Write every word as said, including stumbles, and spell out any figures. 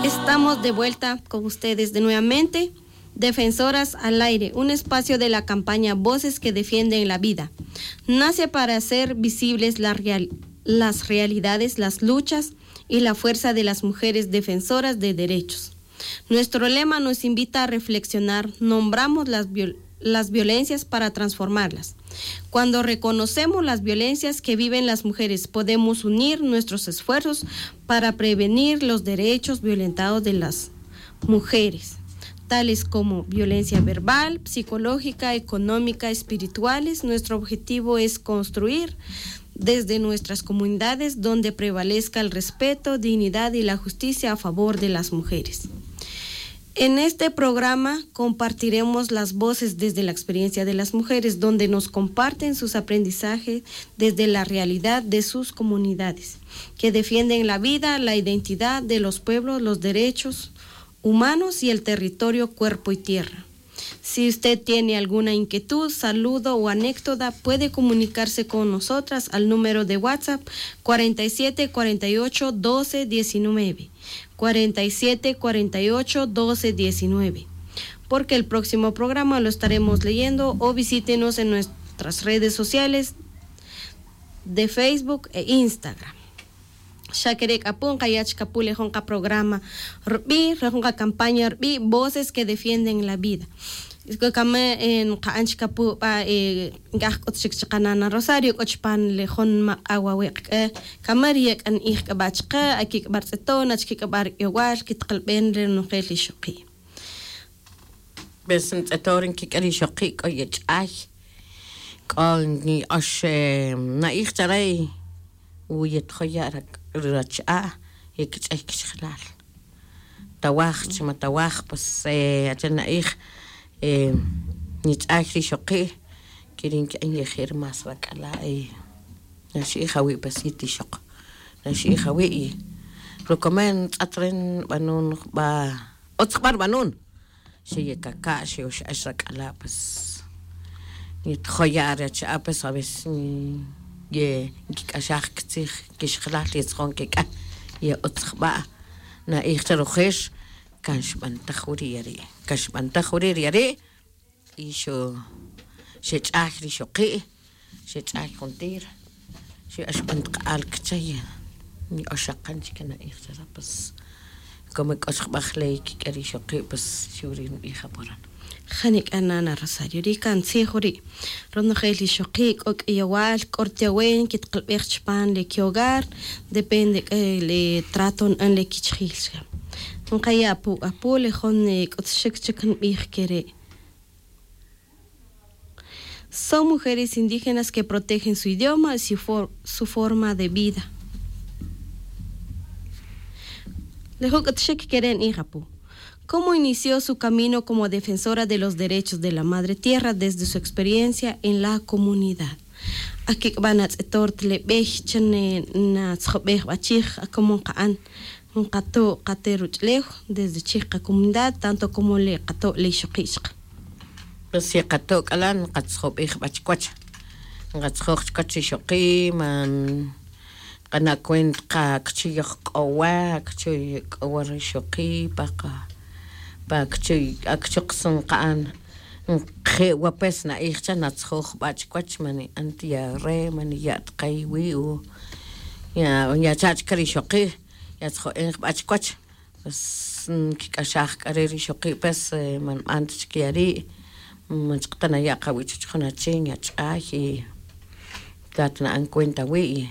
Estamos de vuelta con ustedes de nuevamente. Defensoras al aire, un espacio de la campaña Voces que Defienden la Vida. Nace para hacer visibles la real- las realidades, las luchas y la fuerza de las mujeres defensoras de derechos. Nuestro lema nos invita a reflexionar, nombramos las viol- las violencias para transformarlas. Cuando reconocemos las violencias que viven las mujeres, podemos unir nuestros esfuerzos para prevenir los derechos violentados de las mujeres, tales como violencia verbal, psicológica, económica, espirituales. Nuestro objetivo es construir desde nuestras comunidades donde prevalezca el respeto, dignidad y la justicia a favor de las mujeres. En este programa compartiremos las voces desde la experiencia de las mujeres, donde nos comparten sus aprendizajes desde la realidad de sus comunidades, que defienden la vida, la identidad de los pueblos, los derechos humanos y el territorio cuerpo y tierra. Si usted tiene alguna inquietud, saludo o anécdota, puede comunicarse con nosotras al número de WhatsApp cuarenta y siete cuarenta y ocho doce diecinueve, cuarenta y siete cuarenta y ocho doce diecinueve, porque el próximo programa lo estaremos leyendo, o visítenos en nuestras redes sociales de Facebook e Instagram. Xa kere' k'a pu nqaya' chik apu le jun qaprograma rb'i', le jun qacampaña rb'i' Voces que Defienden la Vida. K'o kama nqa'an chik apu b'a nk'aj k'ut chik chi qanana' Rosario, k'o chupan le jun maq'a' wawe' k'a kama ri ye k'a n'iij k'a b'a chaqe, akik'a b'a rtz'eton, achike k'a b'a rk'ayowal kitqalb'en ri ronojel ixoqi'. Pues ntz'eton ri nkik'e ri ixoqi' k'o yech'ay, k'o nki'ox na'ij chare, wu yetjoya' rach'a' yekich'ay kixjelal. Tawaj chi ma tawaj, pues ache na'ij nich'ay ri ixoqi', keri' nki'an yeje' ri más rak'ala'. Naxi'ij awi' pues yet ixoq, naxi'ij awi' y rukomen ntz'et re nb'anun jub'a', utz jub'a' rb'anun. Xe yekaka' xe ox'ax rak'ala', pues yetjoya' re achi'a' pues a veces ye nkik'axaj kitzij kixjelal, yetzjon kek'a ye utz jub'a'. Na'ij che rojix kan xb'antaj wiri' yari', kan xb'antaj wiri' ri yari'. Y xu xech'ay ri ixoqi', xech'ay juntir, xu axb'an taq'al kichay. Ni'oxaqan chike na'ij chare, pues como k'o chik jub'a' jley kik'e ri ixoqi', pues xiw ri' nb'ij apuran. Janik'a nana' Rosario, ri' kan tzij wiri'. Ronojel ixoqi' k'o k'ayewal, k'o rtiawen kitqalb'ej chupan le kihogar, depende k'a le trato nb'an le kichijil chike. Nqaya' apu apu le jun k'utxik chik nb'ij kere'. Son mujeres indígenas que protegen su idioma y su for- su forma de vida. Le jun k'utxik kere' nb'ij apu. ¿Cómo inició su camino como defensora de los derechos de la madre tierra desde su experiencia en la comunidad? Akik'b'a' natz'etor ta le b'ey chan natzjob'ej b'a chij, como nqa'an, nqato' qate' ruch'ulew desde chij qacomunidad, tanto como le qato' le ixoqi' chaqe. Pues yeqato' k'ala' nqatzjob'ej b'a chikiwach, nqatzjoj chikiwach ri ixoqi', man nqana' cuenta qa ak'uchi' yojk'owa, ak'uchi' yek'owa ri ixoqi' pa qa, pa ak'uchi', ak'uchi' qas nqa'an, nqje' wa pues na'ij cha, natzjoj jub'a' chikiwach, man ni'an ta ya re', man niya' ta qa iwi', o ya, ya cha' chike ri ixoqi', yatzjo'en jub'a' chikiwach. Pues nkik'axaj k'a re' ri ixoqi', pues man nb'an ta chik ya ri', man chik ta naya' qawi' chuwach jun achi, nyach'ay y tat na'an cuenta awi'.